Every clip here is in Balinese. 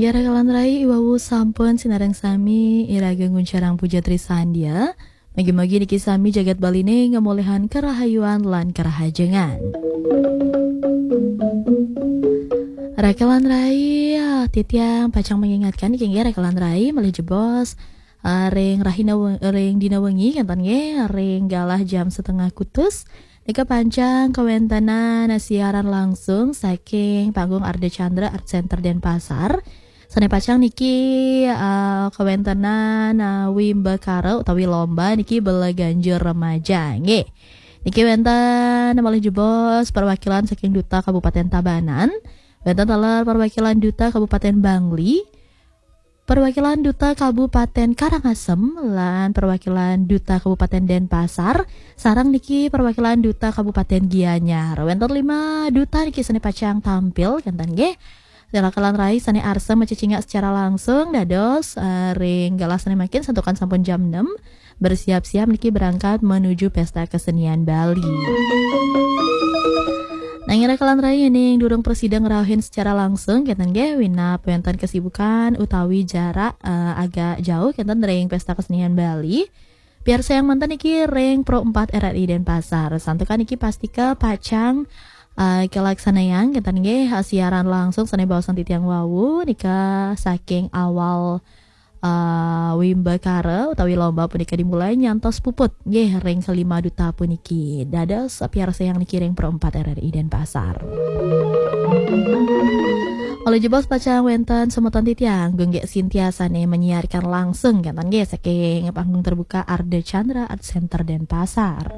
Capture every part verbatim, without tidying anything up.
Ya, rakalan rai, iwawu sampun sinareng sami iraga nguncarang puja trisandia. Mugi-mugi niki sami jagat Baliné ngamolehan karahayuan lan karahajengan. Rakalan rai, ah, titiang pacang mengingatkan niki nggih rakalan rai, malih jebos, ah, ring rahina we-, ring dina wengi, kénten nggih, ring galah jam setengah kutus, nika pacang kawéntenan siaran langsung saking Panggung Ardha Candra Art Center Denpasar. Sané pacang niki, eh, kawéntenan, eh, wimbakara utawi lomba niki bela ganjur remaja, nggih. Niki wénten malih jebos perwakilan saking Duta Kabupaten Tabanan, wénten taler perwakilan Duta Kabupaten Bangli, perwakilan Duta Kabupaten Karangasem, lan perwakilan Duta Kabupaten Denpasar, sareng niki perwakilan Duta Kabupaten Gianyar. Wénten lima duta niki sané pacang tampil, kénten nggih. Rakalan rai sané arsa macecingak secara langsung, dados, eh, ring galah sané mangkin santukan sampun jam enam, bersiap-siap niki berangkat menuju Pesta Kesenian Bali. Nanging rakalan rai, ning durung prasida ngrauhin secara langsung, kénten nggih, winab wénten kesibukan utawi jarak, eh, agak jauh, kénten ring Pesta Kesenian Bali. Piarsayang manten niki ring Pro empat R R I Denpasar. Santukan niki pastika pacang, eh, kalaksanayang, kénten nggih, siaran langsung sané baosan titiang wau, nika saking awal, eh, wimbakara utawi lomba punika dimulai nyantos puput, nggih, ring kelima duta puniki. Dados piarsayang niki ring Pro empat R R I Denpasar. Malih jebos pacang wénten semeton titiang, Gung Gék Sintia sané menyiarkan langsung, kénten nggih, saking panggung terbuka Ardha Candra Art Center Denpasar.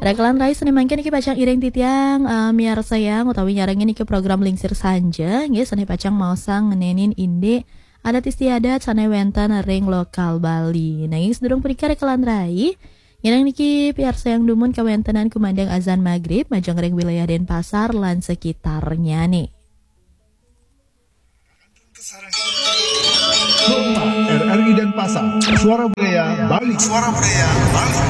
Rakalan rai, sané mangkin niki pacang iring titiang, eh, miarsayang utawi nyarengin niki program Lingsir Sanja, nggih, sané pacang maosang ngenénin indik adat istiadat sané wénten ring lokal Bali. Nanging sadurung punika, rakalan rai, nyarengin niki piarsayang dumun kawéntenan kumandang azan magrib majeng ring wilayah Denpasar lan sekitarnyané. R R I Denpasar, Suara Budaya Bali. Suara Budaya Bali.